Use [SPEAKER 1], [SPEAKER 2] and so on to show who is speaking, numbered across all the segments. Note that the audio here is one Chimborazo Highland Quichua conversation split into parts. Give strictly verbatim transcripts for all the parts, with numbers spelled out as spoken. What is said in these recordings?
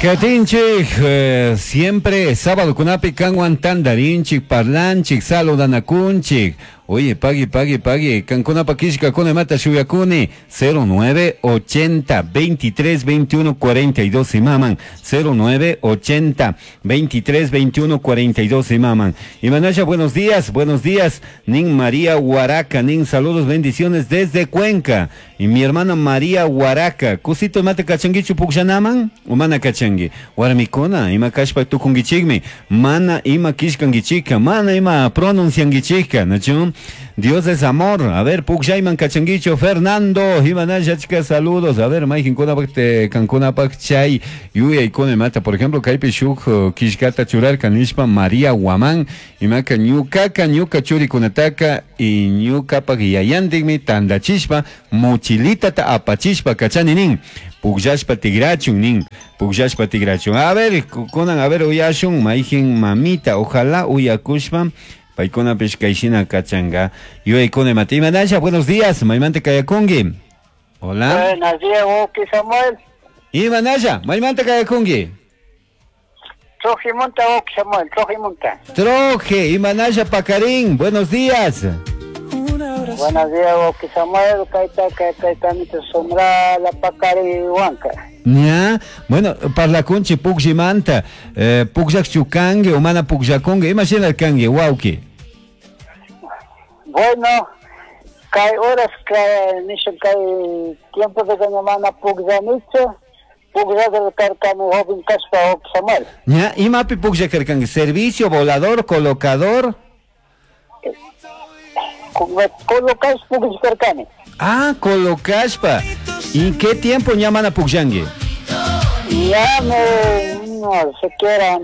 [SPEAKER 1] Katinchik, eh, siempre sábado kunapi kanwan tandarinchik, parlanchik, saludanakunchik. Oye, pagui, pagui, pagui. Kankunapa kishkakuna imata shuyakuni. cero nueve ochenta veintitrés veintiuno cuarenta y dos imaman. cero nueve ochenta veintitrés veintiuno cuarenta y dos imaman. Imanasha, buenos días, buenos días. Nin María Huaraca, nin saludos, bendiciones desde Cuenca. Y mi hermana María Huaraca. Kusito imata kachangichu pukllanaman? O mana kachangi? Warmikuna, ima kashpa tukungichikmi. Mana ima kishkangichika, mana ima pronunciangichika, ¿nachu? Dios es amor. A ver, pukllayman kachangicho, Fernando, imanasha, chica, saludos. A ver, mayqinkunapak te kankunapak chay yuyaykuna imata. Por ejemplo, kaypi shuk uh, kishkata churarka nishpa María Guamán, imaka ñukaka ñuka churikunataka y ñukapak yayantikmi tandachishpa mochilitata apachishpa kachani nin. Pukllashpa tigrachun nin, pukllashpa tigrachun. A ver, kunan, a ver, uyashun, mayqin mamita, ojalá uyakushpa paykunapish kayshina kachanga yuyaykuna imata. Imanasha, buenos días, maymanta kayakunki. Hola.
[SPEAKER 2] Buenos días, wawqi Samuel.
[SPEAKER 1] Imanasha, maymanta kayakunki.
[SPEAKER 2] Trojimunta, wawqi Samuel, Trojimunta.
[SPEAKER 1] Troje, imanasha paqarin, buenos días.
[SPEAKER 2] Buenos días, wawqi Samuel, kayta kayta sumra la paqariwanka.
[SPEAKER 1] Ya, bueno, parlakunchi pukllimanta, eh, pukllaqchu kanki o mana pukllakunki, imashina kanki, wawqi?
[SPEAKER 2] Bueno, kay horas kay nishun kay tiempo de que mana pukllanichu, pukllaq karkani joven kashpa, wawqi Samuel.
[SPEAKER 1] Ya, imapi pukllaq karkanki, servicio, volador, colocador?
[SPEAKER 2] Colocash pukllaq karkani.
[SPEAKER 1] Ah, colocashpa. ¿Y qué tiempo ña mana pukllanki?
[SPEAKER 2] Ya me, no, siquiera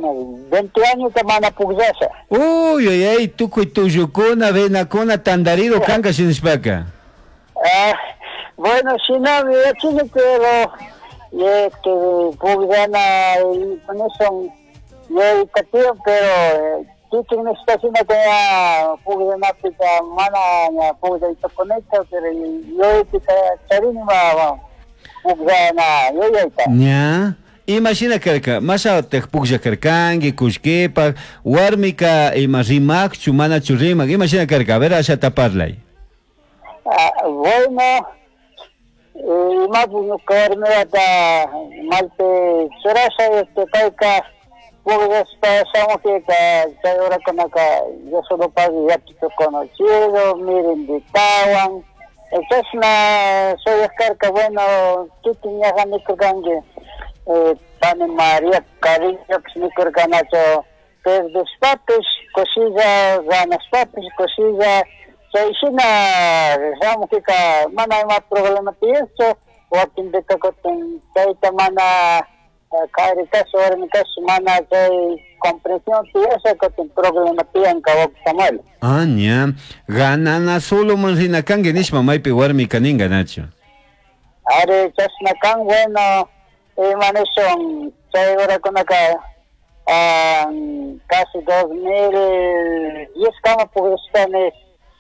[SPEAKER 2] veinte años que mana pukllasha.
[SPEAKER 1] Uy, uy, uy, tukuy tullukuna, venakuna, tandarido kanka shinashpaka.
[SPEAKER 2] Ah, bueno, shinami yachini, pero este, pukllana son yuyayta pero kikin nishkashina que ya pukllanapika mana ña pukllayta kunita, pero yuyaypika charini ma pukllana yuyayta.
[SPEAKER 1] Ña. Imashina karka, mashataq puklla karkanki, kullkipaq, warmika ima rimaqchu, manachu rimaq, imashina karka? A ver, ashata parlay.
[SPEAKER 2] Ah, bueno, imapi ñuka warmiwata malpi churasha, este, payka pukllashpa shamukpika chay horakunaka yo solo pagui yapito conocido, mirinditawan, chashna shuyaj karka. Bueno, kikin ñaja nikurkanki, eh, pani María Carrillopish nikurkanachu, perdishpapish kushilla, ganashpapish kushilla, chay shina shamukpika mana ima problema tiyashchu. Wakinpika kutin chayta mana kari kash warmi kash mana chay comprensión tiyasha kutin problema tiyanka, wawqi Samuel.
[SPEAKER 1] Ah, ña. Ganana solo man rina kanki nishpa maypi warmika ninka, nachu?
[SPEAKER 2] Ari, chashna kan. Bueno, ima nishun, chay horakunaka ah, casi dos mil diez kama pukllashkani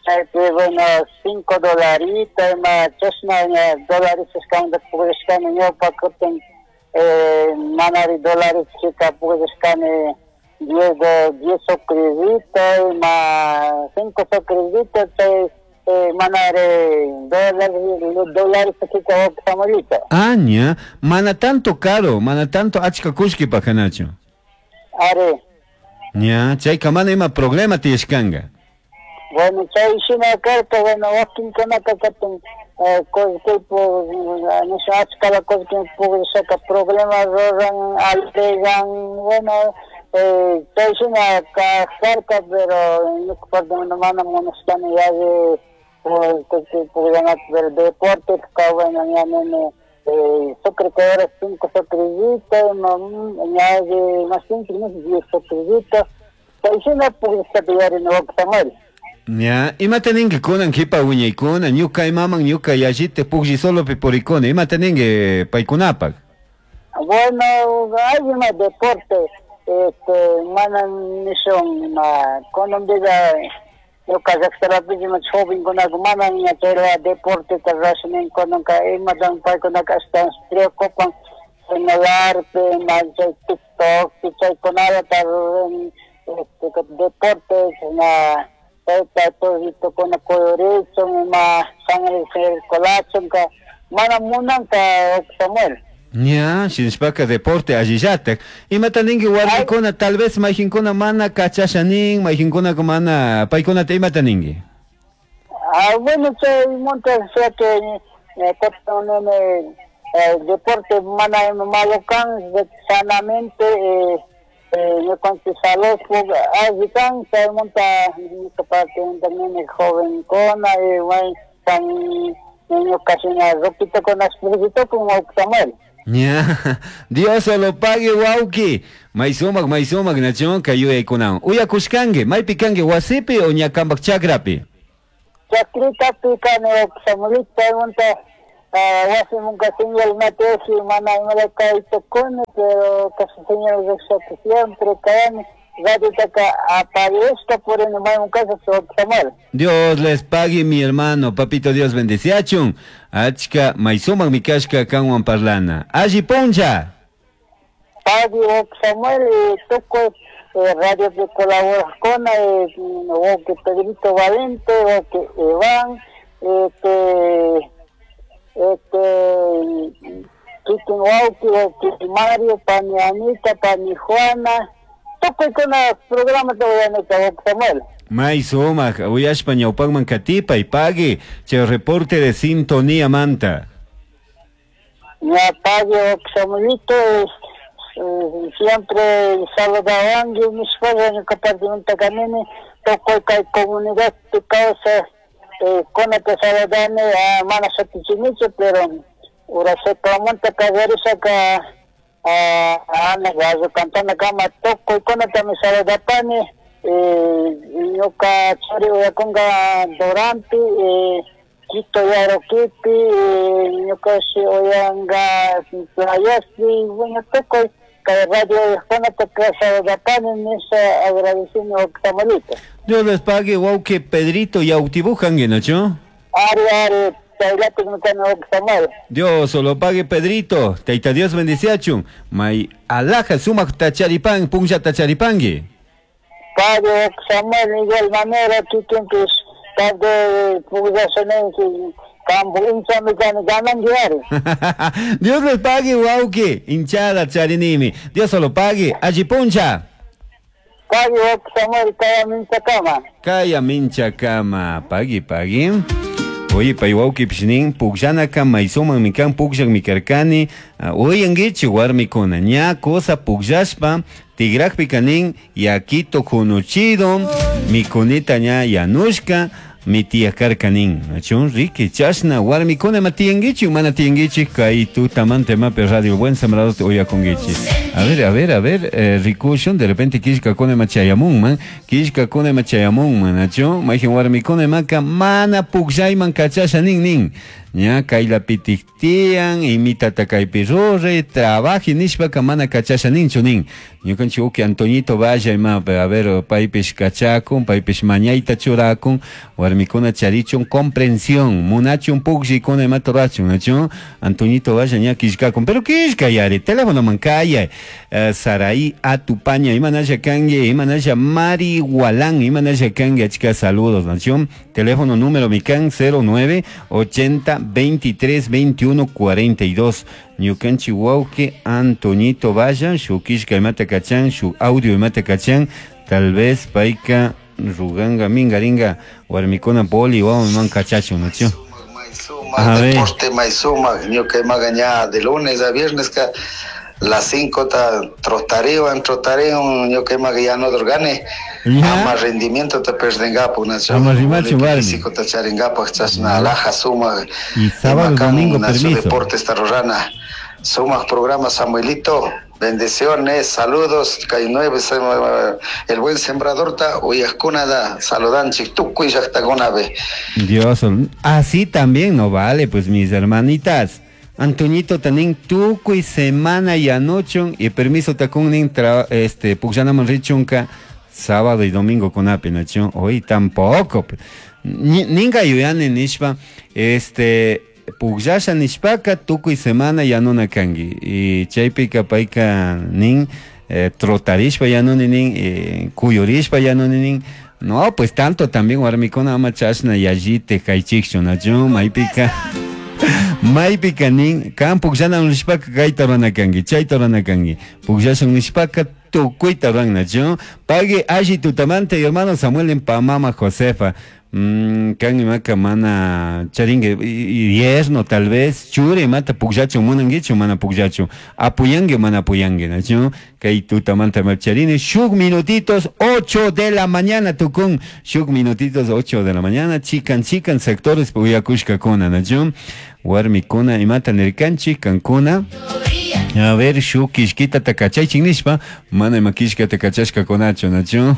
[SPEAKER 2] chaypi, bueno, cinco dolarito ima chashna ña dólares kamanta pukllashkani ñawpa. Kutin eh, manari dólares chika pukllashkani diez de diez socrillito ima cinco socrillito chay eh, manari dólares dólares chika, wawqi Samuelito.
[SPEAKER 1] Ah, ña. Mana tanto caro, mana tanto achka kullkipaq, nachu?
[SPEAKER 2] Ari.
[SPEAKER 1] Ña, chayka mana ima problema tiyashkanka.
[SPEAKER 2] Bueno, chay shina karka. Bueno, wakinkunaka kutin kullkipu nisha achkala kullki pukllashaka problema ruran, alegan. Bueno, eh, chay shina karka, pero ñuka parte mana munashkani yalli kullki pukllanata, pero deporte ka, bueno, ña nini eh, sucre que era cinco socrillito, ña más cinco, no sé, diez socrillito, chay shina pukllashkata yuyarini, wawqi Samuel.
[SPEAKER 1] Ña, imata ninki kunan kipa wiñaykuna, ñuka imaman ñuka yallita puklli solopi purikuna, imata ninki paykunapak?
[SPEAKER 2] Bueno, hay una deporte, este, mana nishun, ma, kunanpiga ñuka llaqtalapi ima jovenkunaka mana ña chayla deporteta rurashnin kunanka, imatan paykunaka ashtawan preocupan. Celularpi, ima chay TikTokpi chaykunata ruran, este, deportes, na chayta toditokuna kuyurichun, ima sangre circulachunka mana munanka, Samuel.
[SPEAKER 1] Ña, shinashpaka deporte allillatak. Imata ninki warmikuna, tal vez mayjinkuna mana kachasha nin, mayjinkuna mana, paykunata imata ninki?
[SPEAKER 2] Ah, bueno, chaymunta, o sea que eh, eh, deporte mana ima malo kan, sanamente, eh, eh, ñukanchik salud alli kan, chaymunta ñuka parte nini jovenkuna, eh, may kan ñuka shina roquitukuna pugllitucun, Samuel.
[SPEAKER 1] Ña, Dios lo pague, wauki. May sumak, may sumak, nachon, kayuyaykunawan. Uyakushkanki, maypi kanki, wasipi o ña kampak chakrapi?
[SPEAKER 2] Chakritapi kani, Samuelito, chaymunta wasimunka señal mateshi mana imala kaytukuni, pero casi señal llaqshaka siempre kayani, radiotaka aparishka purini maymun kasha, Samuel.
[SPEAKER 1] Dios les pague, mi hermano, papito Dios bendeciachun. Achka may sumak mikashka kanwan parlana. Alli puncha.
[SPEAKER 2] Pague, Samuel, y tukuy radio que colaborajkuna, wawqi Pedrito Valente, wawqi Iván, este, este, kikin wawqi, wawqi Mario, pani Anita, pani Juana, tukuykuna programata uyanika, wawqi Samuel.
[SPEAKER 1] May sumak, uyashpa ñawpakman katipay, pague, chay reporte de sintonía manta.
[SPEAKER 2] Ya pague, wawqi Samuelito, es, eh, siempre saludawanki, nishpalla ñuka partimanta kanini, tukuy kay comunidad kawsaj eh, kunata saludani, ah, mana shutichinichu, pero ura seclamunta kallarishaka, ah, ana gallo cantana kama tukuykunatami saludapani, eh, ñuka churi uyakunga Duranti, eh, Quito Yaroquipi, eh, ñuka shi uyanga Playaspi, bueno, tukuy kay radio kunata saludapani, nisha agradecini Samuelito.
[SPEAKER 1] Dios les pague, wauki Pedrito, yautibujanki, ¿no?
[SPEAKER 2] Ari, ari, chaylatik mikani, Samuel.
[SPEAKER 1] Dios lo pague, Pedrito. Taita Dios bendiciachun. May alhaja sumak tacharipan, punlla tacharipangi.
[SPEAKER 2] Pague, Samuel, igual manera, kikinpis, tarde pugllasunenki, kampu hinchami kani gananki ari.
[SPEAKER 1] Dios les pague, wauki. Hinchada charinimi. Dios lo pague. Alli puncha.
[SPEAKER 2] Pague, Samuel, kaya minchakama.
[SPEAKER 1] Kaya minchakama. Pagui, pagui. Oye, pay wauki pishnin, pukllanaka maysuman mikan pukllak mikarkani, uyankichi warmikuna, ña cosa pukllashpa, tigrakpi kanin, yakito kunuchido, mikunita ña yanushka, mi tía karkanin. Achun riki, chashna, warmikuna ma tiyankichi, mana tiyankichi, kay tutamante mape radio Buen Sembrador te uyakunkichi. A ver, a ver, a ver, eh, rikushun, de repente kishkakuna ma chayamunman, kishkakuna ma chayamunman, achun, mayjin warmikuna maka mana pukllayman kachasha nin nin. Ña kaylapitiktiyan, imitata kaypi ruray, trabaji nishpaka mana kachasha ninchu nin. Ñukanchik uki Antoñito vaya ima, a ver, paypish kachakun, paypish mañayta churakun, warmikuna charichun comprensión, munachun pukllikuna imata rurachun, achun, Antoñito vaya ña kishkakun, pero kishka yari, teléfono man kaya, eh, Saraí Atupaña, imanalla kanki, imanalla Mari Gualán, imanalla kanki, achka saludos, nachun, teléfono número mikan cero nueve ochenta veintitrés veintiuno cuarenta y dos. Ñukanchik wawqi Antoñito vaya, shuk kishka imata kachan, shuk audio imata kachan, tal vez payka ruganga mingaringa warmikuna boli wawaman kachachun, nachu.
[SPEAKER 3] May deporte may sumak, ñuka imaga ña de lunes a viernes ka las cinco ta trotarewan, trotarewan, ñuka imaga ya no dorgane. Ama rendimiento te perdengapu, nacho.
[SPEAKER 1] Ama rimachu, warmi.
[SPEAKER 3] Físico te charingapu, chasna alhaja sumak.
[SPEAKER 1] Y sábado,
[SPEAKER 3] Imakan,
[SPEAKER 1] domingo,
[SPEAKER 3] nacho,
[SPEAKER 1] permiso.
[SPEAKER 3] Deportes tarrorana. Sumak programa, Samuelito. Bendiciones, saludos, kay nueve, el buen sembrador ta, uyajkunada, saludanchik, tukuy llaqtakunapi.
[SPEAKER 1] Dios, así también no vale, pues mis hermanitas. Antoñito tanin tukuy semana y anochon y permiso takunin tra, este pukllanaman richunka sábado y domingo con apenación. Hoy tampoco. Ninga yuyani nishpa, este Pukllasha nishpaka tukuy semana yanuna kanki. Y chaypika payka nin eh, trotarishpa yanuni nin, eh, kuyurishpa yanuni nin. No, pues tanto también warmikuna ama chashna yallite kaychikchu nachu maypika maypika nin kan pukllana nishpaka kayta rurana kanki, chayta rurana kanki. Pukllashun nishpaka tukuyta ruran nachu. Pagui alli tutamanta hermano Samuel en pamama Josefa. Mm, kan imaka mana charingue yerno tal vez chure imata pukllachu munanguichu mana pukllachu apuyangue mana apuyangue nachu kay tutamanta charini shuk minutitos ocho de la mañana tukun shuk minutitos ocho de la mañana chikan chikan sectores puyakushkakuna nachu warmikuna imata nirkanchik kankuna. A ver, shuk kishkita takachaychik nishpa, mana ima kishkata kachashkakunachu, nachu.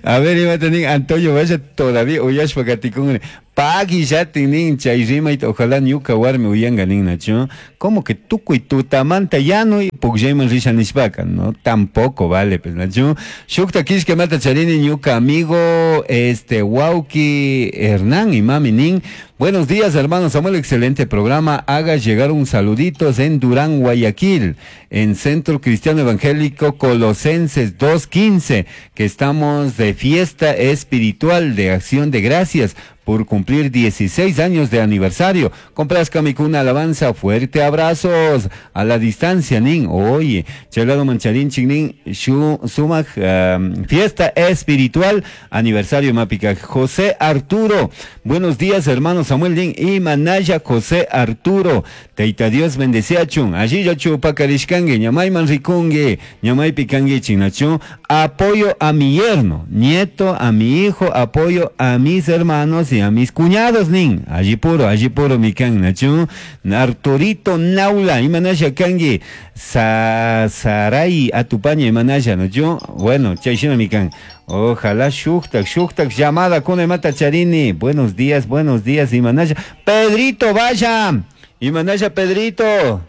[SPEAKER 1] A ver, imata nin Antonio vaya todavía uyashpa katikun. Pagui yatin nin chay rimayta ojalá ñuka warmi uyanka nin nachu. Como que tukuy tutamanta yanuy pukllayman risha nishpaka, no, tampoco vale, pues nachu. Shukta kishka mata charini ñuka amigo, este, wauki Hernán y mami nin. Buenos días, hermano Samuel, excelente programa. Haga llegar un saluditos en Durán, Guayaquil, en Centro Cristiano Evangélico Colosenses dos quince, que estamos de fiesta espiritual de acción de gracias por cumplir dieciséis años de aniversario. Complázcame con una alabanza, fuerte abrazos a la distancia, nin. Oye, chelado mancharín, chingnin, shu, sumac, um, fiesta espiritual, aniversario mapica. José Arturo, buenos días, hermano Samuel nin y Manaya José Arturo. Teita Dios bendeciachun. Allí yo chupacarishkangue, ñamay manricungue, ñamay picangue chinachun. Apoyo a mi yerno, nieto, a mi hijo, apoyo a mis hermanos y a mis cuñados, nin. Allí puro, allí puro, mi can, nachu. Arturito Naula, imanaya kangi. Sa, Saray Atupaña, imanaya, nachu. Bueno, chayshina mi can. Ojalá shuktak, shuktak, llamada con mata charini. Buenos días, buenos días, imanaya. Pedrito, vaya. Imanaya, Pedrito.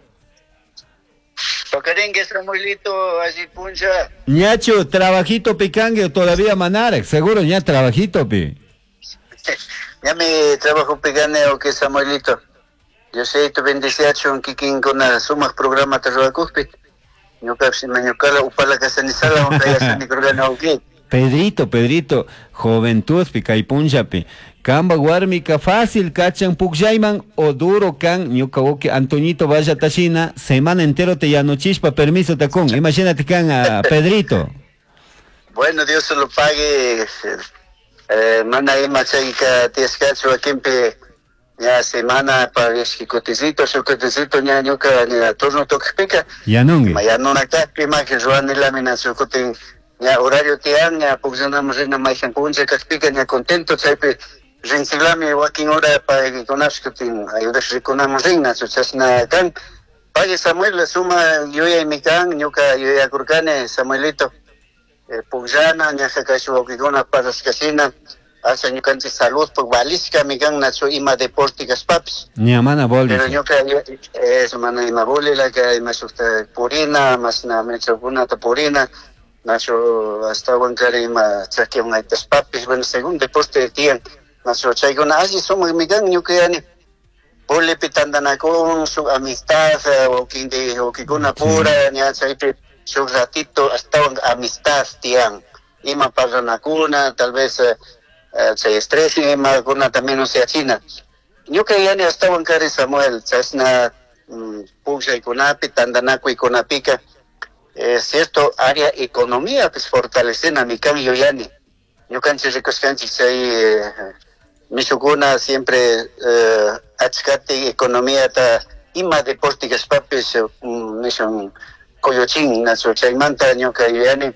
[SPEAKER 3] Tocarengue, Samuelito, allí puncha.
[SPEAKER 1] Ñacho, trabajito picangue, todavía manarek, seguro ña trabajito pi.
[SPEAKER 3] Ya me trabajo picaneo que Samuelito. Yo sé, tu bendeciacho en kikin con la suma programa te roba cuspi. Ñuka si me ñukala upala casanisala, un raya ni uki.
[SPEAKER 1] Pedrito, Pedrito, juventud pica y punchapi. Kamba warmika fácil kachan pukyayman o duro kan ñuka woki Antoñito vaya tashina semana entero te yanochispa permiso tacón. Imagínate kan a Pedrito.
[SPEAKER 3] Bueno, Dios se lo pague. Eh, mana ima chayka tiescacho akimpi ya semana pa yashkikuticito, shukuticito ña ñuka ña turno tokpika.
[SPEAKER 1] Yanungi.
[SPEAKER 3] Mayanuna kajpi maje ruani lamina shukutin ña horario tian ña pukllanamos rina mayhan puncha kajpika ña contento chaypi rinchilami wakin hora pa kunashkutin ayudash rikunamos rinna chasna kan. Pague Samuel la suma yuyaymi kan ñuka yuyakurkani Samuelito. Eh, pukllana ñaja kashu wawkikuna parashkashina hasta ñukanchik salud pues valishka mi kan nachu ima deporte kashpapis.
[SPEAKER 1] Ña mana boli.
[SPEAKER 3] Pero ñuka eso mana ima boli la que ima shukta purina masna mechakunata purina nachu hasta wankari ima chakiwan aytashpapis bueno según deporte tiyan nachu chaykuna alli sumak mi kan ñuka yani bolipi tantanakun shuk amistad wawkindi wawkikuna pura ña chaypi shuk ratito hasta amistad tiyan ima parlanakuna tal vez eh, chay estrés ima kuna también no sea china ñuka yani hasta wankari Samuel chashna mm, pukllaykunapi tantanakuykunapika es cierto área economía pues fortalecena mi kan yuyani ñukanchik rikushkanchik chay eh, mishukuna siempre eh, achkati economía ta ima deporte kashpapis mm, nishun Coyochin, nacho chaymanta ñuka yuyani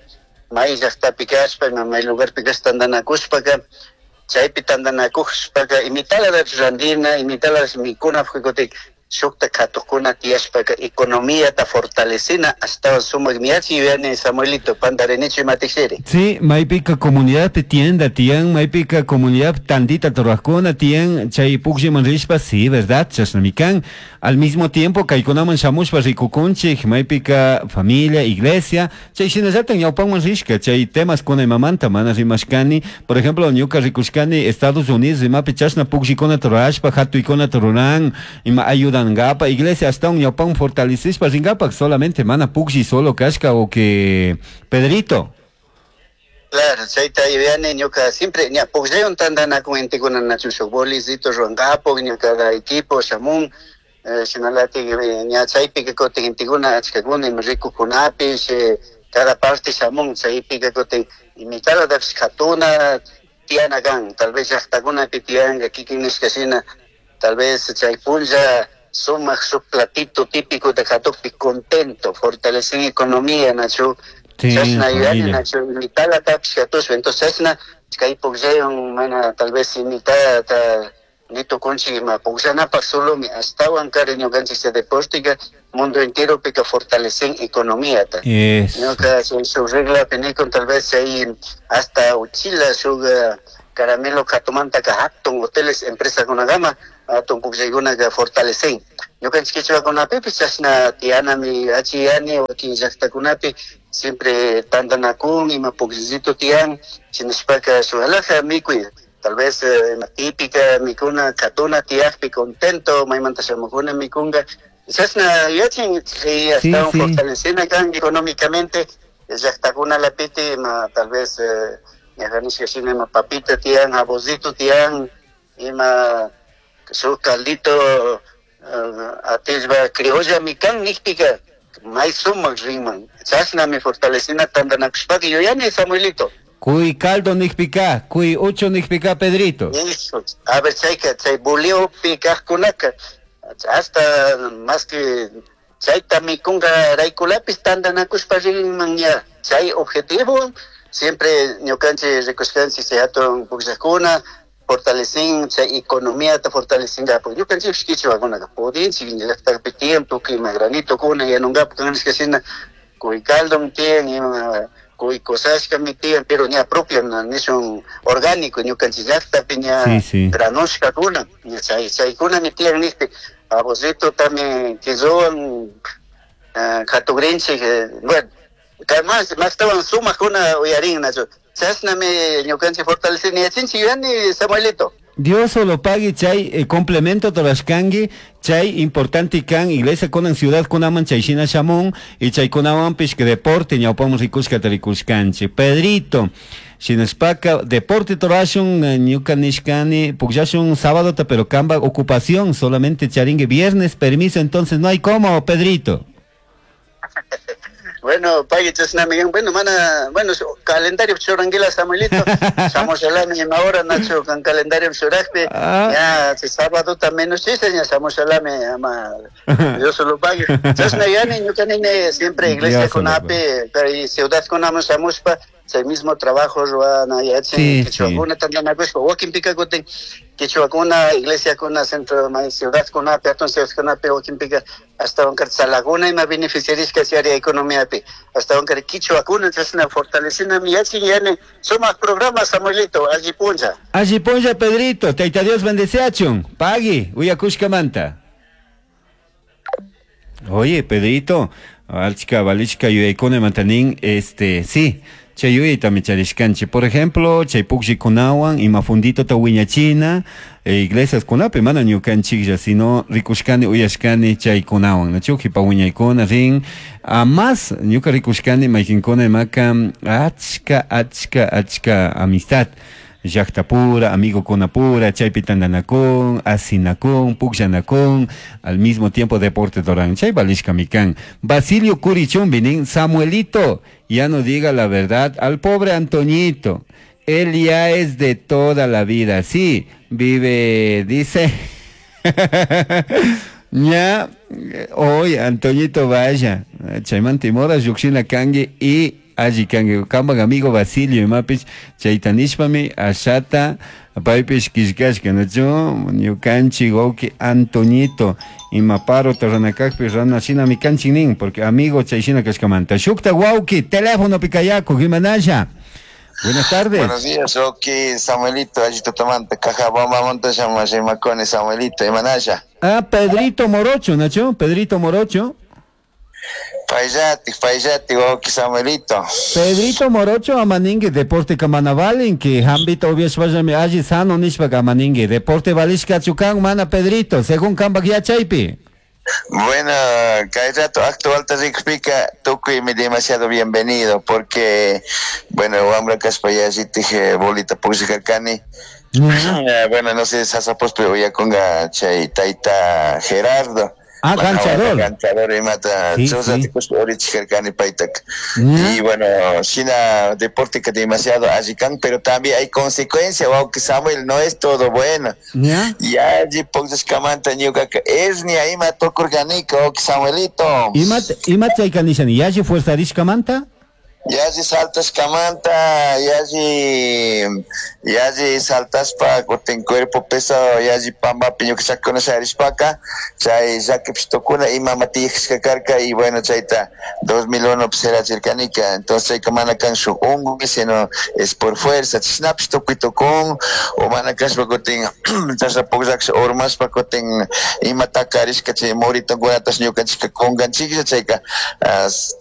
[SPEAKER 3] may llaqtapi kashpa may lugarpi kashpa tantanakushpaka chaypi tantanakushpaka imitala randina imitala mikuna kutik Shukta katukuna tiyashpaka economía ta fortalecina hasta sumak miyachi yuyani Samuelito pandarinichu imatikshiri.
[SPEAKER 1] Sí, maypika comunidad tienda tiyan, maypika comunidad tandita torrajkuna tiyan, chay pukllaman rishpa, sí, verdad, chashnamikan. Al mismo tiempo kaykunaman shamushpa rikukunchik, maypika familia, iglesia, chay shinallatak ñawpanman rishka, chay temas kuna imamanta mana rimashkani, por ejemplo, ñuka rikushkani Estados Unidos imapi chashna pukllikunata rurashpa, hatuykunata ruran, ima ayudangapa, iglesia hasta un ñawpan fortalecishpa ringapak, solamente mana puklli solo kashka o que Pedrito.
[SPEAKER 3] Claro, chayta yuyani ñuka siempre ña pukllaywan tantanakun intikuna nachu shuk bolicito ruwankapak ñuka equipo shamun, shinalatik ña chaypika kutin intikuna achkakuna ima rikukunapish, cada parte shamun chaypika kutin imitalatapish katuna tiyana kan, tal vez llaqtakunapi tiyanka kikin nishka shina, tal vez chay punlla sumak shuk platito típico de katukpi contento, fortalecen economía nachu.
[SPEAKER 1] Sí,
[SPEAKER 3] chashna yuyani
[SPEAKER 1] familia.
[SPEAKER 3] nachu imitalatapish katushpa, entonces chashna kay pukllaywan mana tal vez imitalata nitukunchik ima pukllanapaq solomi ashtawan kari ñukanchik chay deportika mundo entero pika fortalecen economía ta.
[SPEAKER 1] Eso.
[SPEAKER 3] Ñuka chay shuk reglapi nikun tal vez chay hasta uchila shuk caramelo katumantaka hatun hoteles empresakunakama hatun pukllaykunaka fortalecen. Ñukanchik kichwakunapipis chashna tiyanami achiyani wakin llaqtakunapi siempre tantanakun ima pukllito tiyan shinashpaka shuk alhaja mikuy. Tal vez eh, típica mikuna katuna tiyakpi contento maymanta shamukuna mikunka chashna yachin chay ashtawan
[SPEAKER 1] sí.
[SPEAKER 3] fortalecena kan económicamente llaqtakuna lapiti ima tal vez eh, ñajanishka shina ima papita tiyan jabocito tiyan ima shuk caldito uh, atishpa criolla mikan nikpika may sumak rinman chashnami fortalecena tantanakushpaka yuyani Samuelito.
[SPEAKER 1] Cuy caldo nikpika, cuy ucho nikpika, Pedrito.
[SPEAKER 3] Eso, a ver, chayka, chay buliopi kajkunaka, hasta más que chayta mikunka raykulapis tantanakushpa rinman ña, chay objetivo, siempre ñukanchik rikushkanchik chay hatun pukllakuna, fortalecen chay economía ta fortalecenga, porque ñukanchik kichwakunaka pudinchik llaqtapi tiempo ima granitokuna yanunkapak kanishka shina cuy caldo tiyan ima cuy cosashkami tiyan, pero ña propio nishun orgánico ñukanchik llaqtapi ña
[SPEAKER 1] Sí, sí.
[SPEAKER 3] granushkakuna, ña chay chaykunami tiyan nishpi abocito también kizuwan katugrinchik, bueno, más mastawan sumakuna uyarin nachu chashnami ñukanchik fortalecen yachinchik yuyani Samuelito.
[SPEAKER 1] Dios solo pague chay eh, complemento torashkangi chay importante kan iglesia kunan ciudad kunaman chay shina shamun y chay kunawanpish que deporte ñawpaman rikushka rikushkanchik Pedrito shinashpaka deporte torashun eh, ñuka nishkani pukllashun sábado pero kamba ocupación solamente charingue viernes permiso, entonces no hay como Pedrito.
[SPEAKER 3] Bueno, pague chashnami bueno, mana, bueno, calendario churanguila Samuelito, shamushalami ima hora Nacho kan calendario churakpi,
[SPEAKER 1] Ah.
[SPEAKER 3] ya si sábado también no chiste, ya shamushalami ama Dios lo pague. Chashna yani ñuka nini siempre iglesia
[SPEAKER 1] Dios
[SPEAKER 3] con
[SPEAKER 1] lo
[SPEAKER 3] ape, y ciudad con amo shamushpa, chay mismo trabajo ruana yachin
[SPEAKER 1] Sí,
[SPEAKER 3] kichwakuna tantanakushpa wakinpika kutin kichwakuna iglesia kuna centro may ciudad kuna hatun ciudad kunapi wakinpika ashtawan kar tsalakuna ima beneficiarishka chay área economiapi ashtawan kar kichwakuna chashna fortalecinami yachin yani sumak programa Samuelito alli punlla.
[SPEAKER 1] Alli punlla Pedrito, Tayta Dios bendeciachun, pagui, uyakushkamanta. Oye, Pedrito, alchika valishka yuyaykuna mantanin, este, sí, chay yuyayta micharishkanchik. Por ejemplo, chay pukllikunawan ima funditota wiñachina, eh, iglesias kunapi mana ñukanchiklla, sino rikushkani uyashkani chaykunawan, nachu jipa wiñaykuna rin, a más ñuka rikushkani maykinkuna imaka achka, achka, achka amistad. Llaqtapura, amigokunapura, chaypi tandanakun, asinakun, pukllanakun, al mismo tiempo deporte doran. Chay valishkami kan. Basilio Curichumbi nin, Samuelito, ya no diga la verdad al pobre Antoñito. Él ya es de toda la vida. Sí, vive, dice. Ya, hoy Antoñito vaya. Chayman timora, llukshina kangi y Alli kanki kambak amigo Basilio imapish chayta nishpami ashata paypish killkashka, nachu? Ñukanchik wawki Antoñito ima parota rana kakpi rana shinami kanchik nin, porque amigo chay shina kashkamanta. Shukta wawki telefonopi kayakuk, imanasha? Buenas tardes.
[SPEAKER 3] Buenos días, Rocky, Samuelito, allí tutamanta, Cajabamba, Montaña, Rimacone, Samuelito, imanasha.
[SPEAKER 1] Ah, Pedrito Morocho, Nacho, Pedrito Morocho.
[SPEAKER 3] Payllati, payllati, wawki Samuelito.
[SPEAKER 1] Pedrito Morocho amaningue deporte kamanavalin que hambito ubiashpallami alli sano nishpa kamaningue deporte valishkachu kan mana, Pedrito, según kambak yachaypi?
[SPEAKER 3] Bueno, kay rato actual ta rikpika tukuymi demasiado bienvenido porque, bueno, wambra kashpa yallitik bolita pukllakarkani. Bueno, no sé, sasapospi uyakunga chay tayta Gerardo.
[SPEAKER 1] Ah, ganchador.
[SPEAKER 3] Ganchador imata
[SPEAKER 1] Sí,
[SPEAKER 3] chusati
[SPEAKER 1] sí.
[SPEAKER 3] kushpa urichikarkani paytaka.
[SPEAKER 1] Ya.
[SPEAKER 3] Y bueno, shina deporte que demasiado allikan, pero también hay consecuencia, wawki Samuel, no es todo bueno.
[SPEAKER 1] ¿Ya?
[SPEAKER 3] Y alli pukllashkamanta ñukaka hernia ima tukurkanika, wawki Samuelito.
[SPEAKER 1] Ima ima chayka nishani, yalli fuerzarishkamanta?
[SPEAKER 3] Yalli saltashkamanta, yalli yalli saltashpa kutin cuerpo pesado yalli pambapi ñuka chakuna sharishpaka chay llakipish tukuna imama tiyashka karka y bueno, chayta dos mil uno serachirkanika. Entonces chayka mana kan shuk unkuy, sino es por fuerza, chashnapish tukuy tukun o mana kashpa kutin chashna pukllaksh urmashpa kutin ima takarishka chay muritunkunatash ñukanchikka kunkanchiklla. Chayka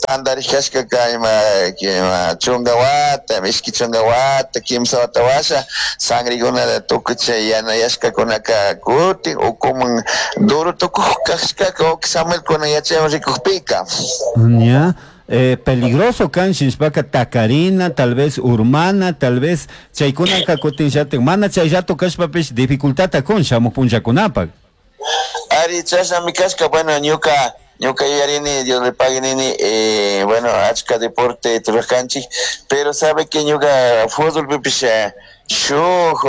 [SPEAKER 3] tandarishkashkaka ima ima chunga wata, ishki chunga wata, kimsa wata washa sangrikuna tukuy chay yanayashkakunaka kutin ukuman duro tukuj kashkaka, wawki Samuel, kunan yachaywan rikukpika.
[SPEAKER 1] Ya. Eh, peligroso kan shinshpaka takarina, tal vez urmana, tal vez chaykunaka kutin shatin mana chay rato kashpapish dificultata kun shamuq punllakunapak.
[SPEAKER 3] Ari, chashnami kashka. Bueno, ñuka ñuka yuyarini, Dios le pague nini, eh, bueno, achka deporte rurarkanchik, pero sabe que ñuka fútbol pipish eh, shuk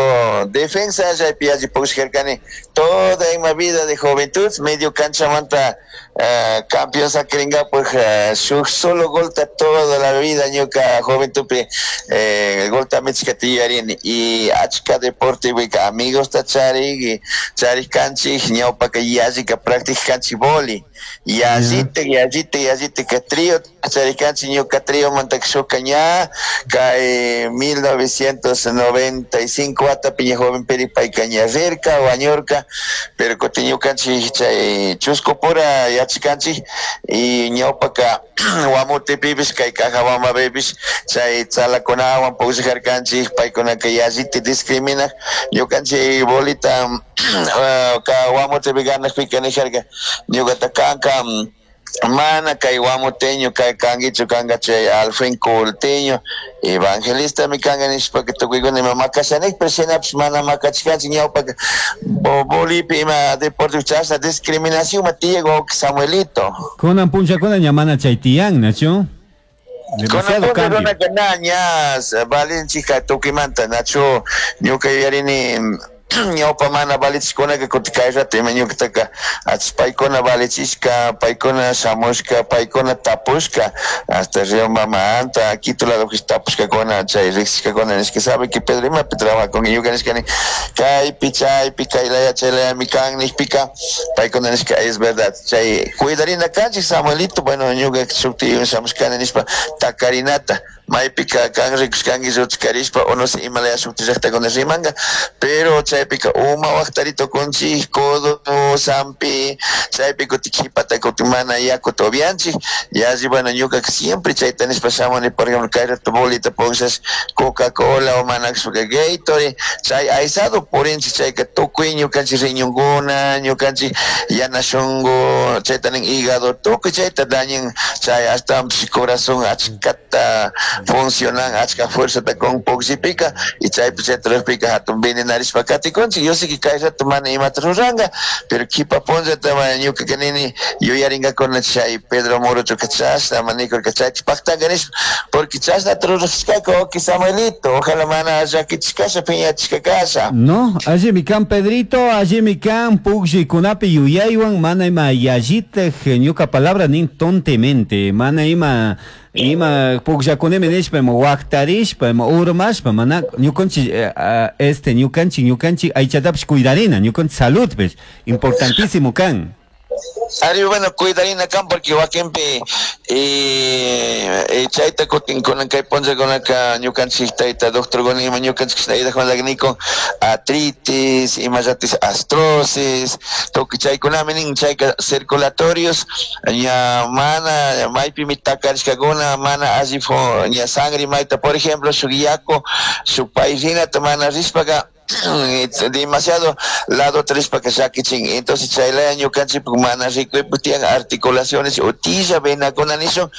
[SPEAKER 3] defensa chaypi alli pukllashkarkani toda ima vida de juventud, medio canchamanta uh, campeón sakirinkapak, uh, shuk solo golta toda la vida ñuka juventudpi eh, golta michkata yuyarini. Y achka deporte wika amigosta charik charik kanchik, ñawpaka yallika practic kanchik boli, yallitik yallitik yallitik trio charik kanchik. Ñuka triomanta shuka ña kay mil novecientos noventa y cinco watapi ña joven peri payka ña rirka wañurka, pero kutin ñukanchik chay chusku pura yachikanchik y ñawpaka Guamutepipish kay Cajabambapipish chay tzalakunawan pukllajarkanchik, paykunaka yallita discriminak ñukanchik bolita ka Guamutepi ganakpika nijarka ñukata kanka mana kay guamuteño kay kankichu, kanka chay alfin culteño evangelista mi kanka nishpaka tukuykuna ima makashanik, pero shinapish mana makachkanchik. Ñawpaka bolipi ima deporte chashna discriminación ma tiyak, wawki Samuelito.
[SPEAKER 1] Kunan punllakuna ña mana chay tiyan, nachu? Demasiado cambio.
[SPEAKER 3] Runaka na ña valinchika tukuymanta, nachu? Ñuka yuyarini ñawpa mana valichishkunaka kutin kay rato ima ñukataka paykuna valichishka, paykuna shamushka, paykuna tapushka hasta Río Mamanta, Quito lado tapushkakuna chay riksishkakuna nishka, sabe que Pedro imapi trabaja ñuka nishkani kaypi chaypi kay laya chay layami kan nishpika, paykuna nishka es verdad, chay cuidarina kanchik, Samuelito. Bueno, ñuka shukti shamushkani nishpa takarinata maypika kan rikushkanki lluchkarishpa o no sé imalaya shukti llaktakuna rimanka, pero chaypika uma waktari tukunchik, codo sampi chaypi kutin kipata kutin mana yakuta upianchik yalli. Bueno, ñukaka siempre chayta nishpa shamuni. Por ejemplo, kay rato bolita pukllash Coca-Cola o mana kashpaka Gatorade, chay aysado purinchik, chayka tukuy ñukanchik riñonkuna, ñukanchik yana shunku, chayta nin hígado, tukuy chayta dañan chay, ashtawanpish corazón achkata funcionan, achka fuerzata kun pukllipika y chaypi chayta rurapika hatun venenarishpa katin. Katikunchik, yo sé que kay rato mana imata ruranka, pero kipa punllata ñuka kanini yuyaringakuna chay Pedro Morochoka chashna manikurka chayta paktanka nishpa, porque chashnata rurashkaka oki Samuelito, ojalá mana llakichishkasha piñachishka kasha.
[SPEAKER 1] No, allimi kan Pedrito, allimi kan pukllikunapi yuyaywan mana ima yallitaj ñuka palabra nin tontemente, mana ima ima pukllakunimi nishpa ima waktarishpa ima urmashpa mana ñukanchik este ñukanchik ñukanchik aychatapish cuidarina, ñukanchik saludpish importantísimo kan.
[SPEAKER 3] Ari, bueno, cuidarina kan porque wakinpi eh, chayta kutin kunan kay punllakunaka ñukanchik tayta doctorkuna ima ñukanchik nikun artritis, imallatis artrosis, tukuy chaykunami nin chayka circulatorios ña mana maypimi takarishkakuna mana alli ña sangre mayta, por ejemplo, shuk yaku shuk payrinata mana rishpaka demasiado lado trishpaka llakichin, entonces chaylaya ñukanchikpak mana rikuypak tiyan articulaciones utilla venakuna nishun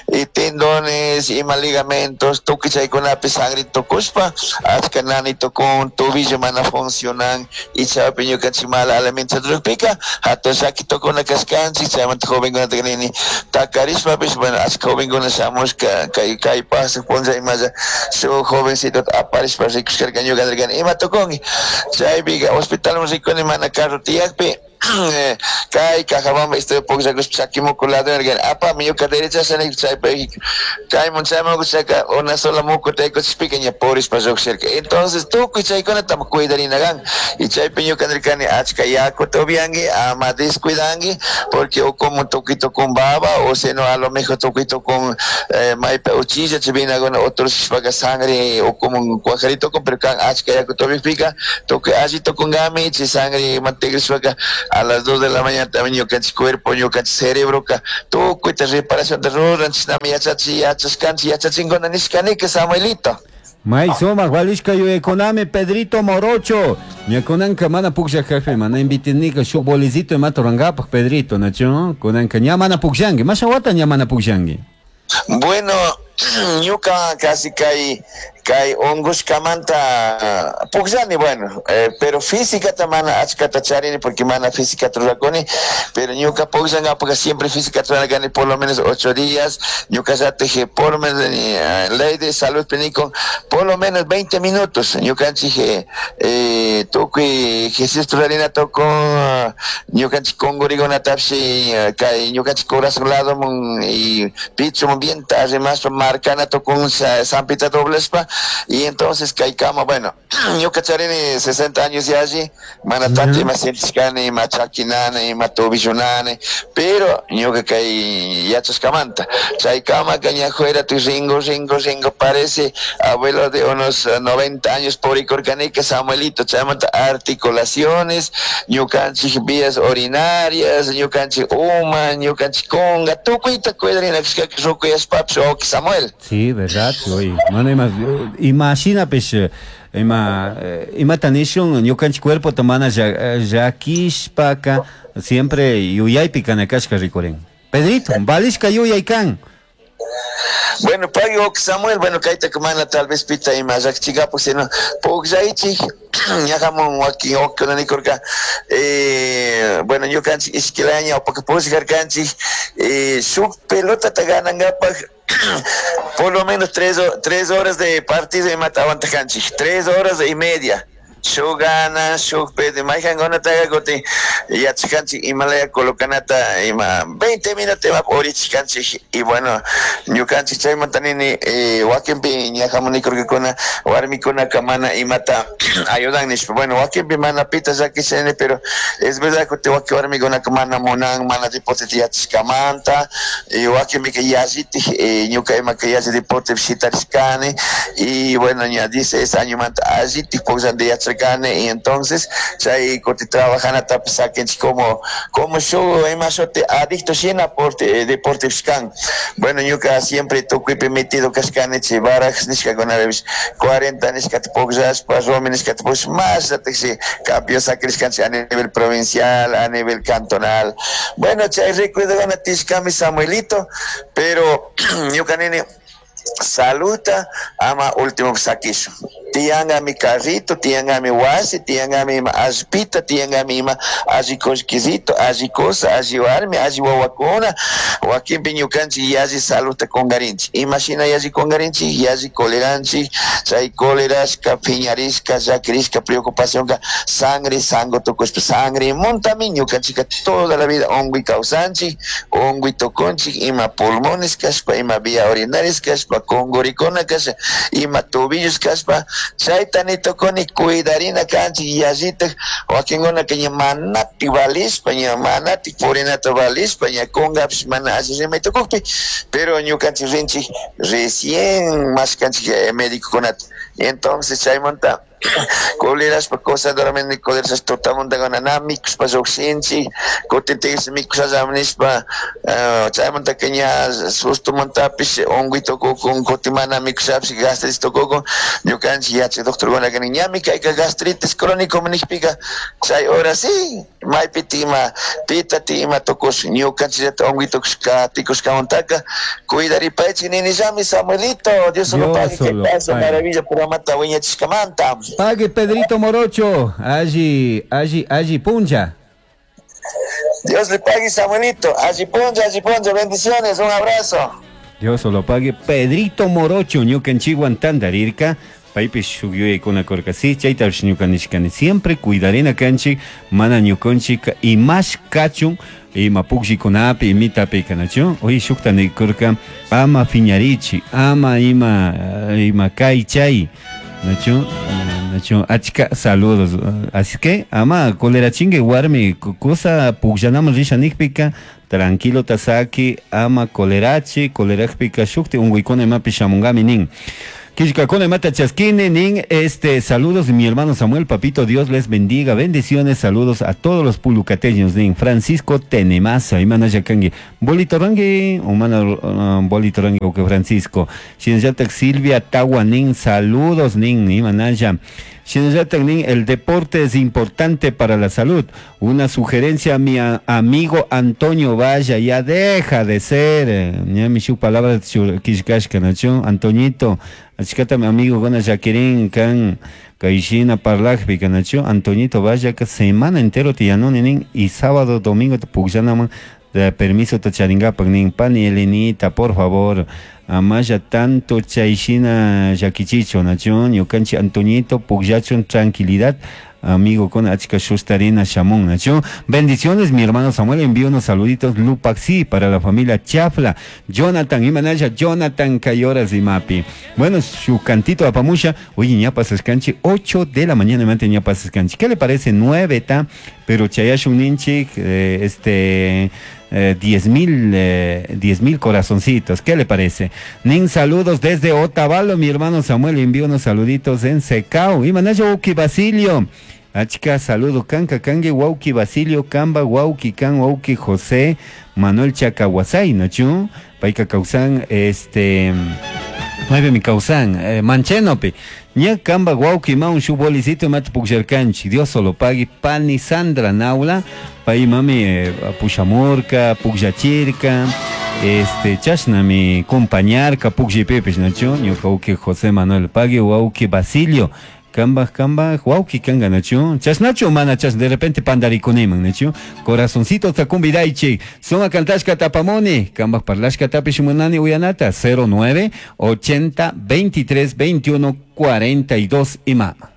[SPEAKER 3] y tendones ima ligamentos tukuy chaykunapi sangre tukushpa achka nani tukun tobillo mana funcionan y chaypi ñukanchik mala alimentación rukpika hatun llaki tukuna kashkanchik. Chaymanta jovenkunata nini takarishpapish, bueno, achka jovenkuna shamushka kay kay pasaq punlla imalla shuk jovencito aparishpa rikushkarka ñuka nirkani ima tukun chaypika hospitalman rikuni mana carro tiyakpi kay Cajabamba estoy pukllakushpa chakimuku lado nirkani apami ñuka derecha chaypi kaymun chaymun chayka una sola mukuta rikuchishpika ña purishpa lluqshirka. Entonces tukuy chaykunata cuidarina kan y chaypi ñuka nirkani achka yakuta upianki ama descuidanki porque o como tukito con baba o sino a lo mejor tukito con eh, maypa uchilla chaypinakuna otros sangre o como cuajarito con pero kan achka yakuta upiakpika tukuy alli tukunkami chay sangre mantegrishpaka a las dos de la mañana también ñukanchik cuerpo ñukanchik cerebro ka tukuyta reparación de ruran chishnami yachachi yachashkanchik yachachinkuna nishkanika Samuelito.
[SPEAKER 1] May sumak valishka yuyaykunami Pedrito Morocho. Ña kunanka mana pukllakakpi mana invitinika shuk bolicito imata rurankapak Pedrito, nachu? Kunanka ña mana pukllanki, masha wata ña mana pukllanki.
[SPEAKER 3] Bueno, ñuka casi kay kay ungushkamanta pukllani, bueno, eh, pero física mana achkata charini porque mana física rurakuni, pero ñuka pukllankapaka siempre física rurakani por lo menos ocho días, ñuka llatik por lo menos eh, ley de salud pinico por lo menos veinte minutos, ñukanchik eh, tukuy ejercicio rurarina tukun ñukanchik kungurikunatapish kay ñukanchik corazón lado y picho bien arrimashpa marcana tukun sampita doblashpa y entonces kay kama, bueno, ñuka charini sesenta años yalli mana tanto ima sentishkani ima chakinani ima tobillunani, pero ñuka kay yachashkamanta chay kamaka ñajuera tu ringo ringo ringo parece abuelo de unos noventa años purikurkanika Samuelito. Chaymanta articulaciones ñukanchik vías urinarias ñukanchik uma ñukanchik kunga tukuyta cuidarina kashkaka rukuyashpapish oki Samuel.
[SPEAKER 1] Sí, verdad, oye, mana ima imaginapish ima imata nishun ñukanchik cuerpota mana llakishpaka siempre yuyaypi kana kashka rikurin. Pedrito, valishka yuyay kan.
[SPEAKER 3] Bueno, pagui Samuel, bueno, kayta mana tal vez pita ima llakichikapak sino pukllaychik ñajamun wakin wawkikuna nikurka eh, bueno, ñukanchik ishkilaya ñawpaka pushkarkanchik eh, shuk pelotata ganankapak por lo menos tres, tres horas de partido imata aguantakanchik, tres horas y media shuk gana shuk perde mayjankunataka kutin yachaskanchik imalaya colocanata ima veinte minutos ima purichishkanchik y bueno, ñukanchik chaymanta nini eh, wakinpi ñajamun nikurkakuna warmikunaka mana imata ayudan nishpa, bueno, wakinpi mana pita llakishani, pero es verdad kutin wakin warmikunaka mana munan mana deporteta yachashkamanta y wakinpika yallitik eh, ñuka imaka yalli deportepi shitarishkani y bueno, ña dieciséis añomanta allitik pukllanta yacharkani y entonces chay kutin trabajanatapish sakinchik como como shuk ima shuti adicto shina porte deportepish kan. Bueno, ñuka siempre tukuypi metido kashkani chay barajas nishkakunapish cuarenta nishkata pukllashpa rumi nishkata pukllashpa mashlatikshi campeón sakirishkanchik a nivel provincial, a nivel cantonal. Bueno, chay recuerdokuna tishkami Samuelito, pero ñuka nini saluta ama último sakishun. Tiyangami carrito, tiyangami wasi, tiyangami ima allpita, tiyangami ima alli kullkisito, alli kusa, alli warmi, alli wawakuna, wakinpi ñukanchik yalli saludta kungarinchik. Imashina yalli kungarinchik, yalli coleranchik, chay colerashka, piñarishka, llakirishka, preocupacionka, sangre, sango tukushpa, sangre muntami ñukanchika toda la vida unkuy kawsanchik, unkuy tukunchik, ima pulmones kashpa, ima vía urinarias kashpa, kungurikuna kashpa, ima tobillos kashpa, chayta ni tukuni cuidarina kanchik yallitak wakinkunaka ña manatik valishpa, ña manatik purinata valishpa, ña kungapish mana alli rimay tukukpi, pero ñukanchik rinchik recién mashkanchik eh, médicokunata. Entonces chaymanta colerashpa cosa dormini colerashpa tutamuntakuna na mikushpa llukshinchik, kutin tigrashpa mikushallami nishpa, chaymantaka ña sustumantapish unkuy tukukun, kutin mana mikushapish gastritis tukukun, ñukanchik yachak doctorkunaka nin ñami kayka gastritis crónico nishpika chay hora sí maypiti ima pitati ima tukush ñukanchikllata unkuy tukushka tikushkamantaka cuidaripaychik ninillami Samuelito, Dios solo pague, que pasa maravilla programata wiñachishkamanta.
[SPEAKER 1] Pague Pedrito Morocho, allí, allí, allí puncha.
[SPEAKER 3] Dios le pague, Samuelito, allí puncha, allí puncha, bendiciones, un abrazo.
[SPEAKER 1] Dios lo pague, Pedrito Morocho, ñukanchikwan tantarirka, paypish shuk yuyaykuna kurka, sí, chaytapish ñuka nishkani, siempre cuidarina kanchik, mana ñukanchik imash kachun, ima pukllikunapi, imitapi kanachu, oye shukta nikurka, ama fiñarichi, ama ima, ima kay chay, nachu, nachu, achka saludos, así que ama colerachingue warmi, kusa pukllanaman risha nikpika, tranquilo tasaki, ama colerachi, colerajpika shukti unkuykuna imapi shamunkami nin. Kishkakuna imata chaskini nin, este, saludos mi hermano Samuel, papito, Dios les bendiga, bendiciones, saludos a todos los pulucateños nin. Francisco Tenemasa, imana yakangi, bolito rangi, umana uh, bolito rangi, ok, Francisco. Shinallatak Silvia Tawa nin, saludos nin, imanaya. Shinallatak nin, el deporte es importante para la salud. Una sugerencia a mi a, amigo Antonio Valla, ya deja de ser, ya mi shu palabra kishkashka, nacho, Antoñito, achkata mi amigo gona Jacqueline kan kaishina parlajpi kanacho, Antoñito Valla que semana entero te yanoni nin y sábado domingo te pukllanaman de permiso te charingapak nin, pani Elenita, por favor, amaya tanto chayshina llakichicho nacho, ñukanchik Antoñito pukllachun tranquilidad, amigo con achka shustarina shamun nacho. Bendiciones mi hermano Samuel, envío unos saluditos Lupaxi para la familia Chafla, Jonathan imanaya, Jonathan Cayoras y Mapi. Bueno, su cantito apamusha, oye ñapas escanchi, ocho de la mañana mante ñapas escanchi. ¿Qué le parece? nueve ta, pero chayashun ninchik, eh, este eh, diez mil, eh, diez mil corazoncitos, ¿qué le parece? Nin saludos desde Otavalo, mi hermano Samuel, envío unos saluditos en Secao. Imanaya Uki Basilio, achka saludo kanka kangue wauki Basilio Kamba wauki kan wauki José Manuel Chacahuasay, ¿no? Paika causan este nueve mi causan eh, Manchenopi. Ña kamba wauki maun shu bolicito mat pukjarkanchi, Dios solo pague pani Sandra Naula, pai mami eh, pushamurka, pukjachirka, este chashnami compañarka pukjipepes, nachu, ñuka uki José Manuel pague wauki Basilio. Kamba, kamba, wauki kanga, nachu. Chasnachu, mana chas, de repente pandarikuniman, nachu. Corazoncito takumbidaichi. Suma kantashka tapamoni. Kamba parlashka tapishumunani uyanata. cero nueve, ochenta, veintitrés, veintiuno, cuarenta y dos y mama.